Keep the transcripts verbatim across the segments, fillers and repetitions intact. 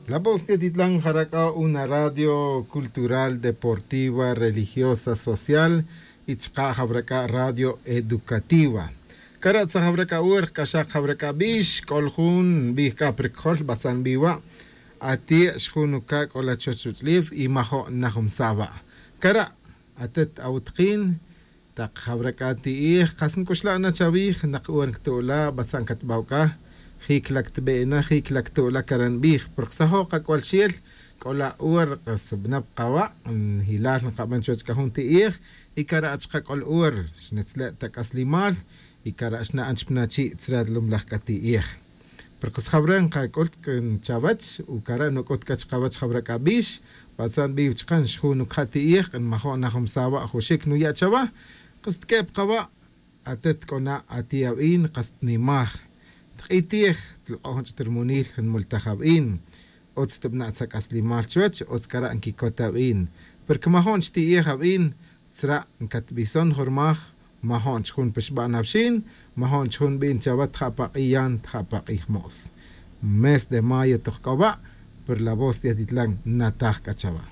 La voz tiya titlan jara' c'a una radio cultural deportiva religiosa social, y chaka' jawara' c'a radio educativa. Cara' tzaj jawara' c'a ur k'axak jawara' c'a bix c'ol jun nbij c'a pa ricojol batzan nbij wa'. Ati' xjun uca' c'ola chuwech ruch'ulef y majo' najumsa' wa'. Cara' atet awutakin tak jawara' c'a ti'ij kas nc'uxla' na chawij nak ur nctu'la' batzan catbaw c'a. Jic la ctbe'na jic la ctu'la' cara' nbij porque sajo' kac'ual xel. C'ola' ur kas bnap kawa' njilal nkaban chuwech c'a jun ti'ij. Y cara' chaka c'ol ur xnetzle' ta c'aslimal y cara' xna'an chpana chi' tzra lumlaj c'a ti'ij. Porque sjawra' nkac'ul chawech u cara' nuc'ut c'a chkawech jawra' c'a bix. Batzan biw chka nxju' nucja' ti'ij nmajo' najumsa' wa' juxic nuya' chawa. Kas tq'ue'p kawa' atet c'o na ati' awin kas tnimaj. Tk'itij tlk'o' jun ch'it rmunil nmultaj awin. Utz tbna' tzak'aslimal chuwech utz cara' nquicot awin. Porque majo' nchti'ij awin tzra' ncatbison jun rmaj. Majo' nchjun pixban awxin majo' nchjun bin chawa tja' pa k'iyan tja' pa k'ij mo's. Mes de mayo toj k'o wa'. Pero la voz tiya titlan nataj c'a chawa.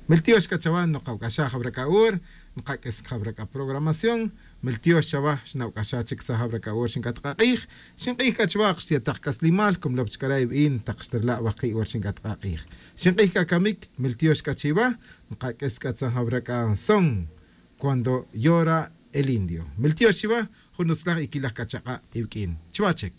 Miltiox c'a chawa nokawc'axaj awra c'a ur. Nkak'is cjawra c'a programación. Miltiox chawa xnawc'axaj chic tzaj awra c'a ur xinc'at k'a k'ij. Xink'ij c'a chawa kxtiya tak c'aslimal como lop chcara' ibin tak xtrala' waki' ur xinc'at k'a k'ij. Xink'ij c'a camic miltiox c'a chiwa. Nkak'is c'a tzaj awra c'a son cuando yora el indio miltiox chiwa. Jun utzlaj y quilaj c'a chak'a' iwq'uin. Chiwa chic.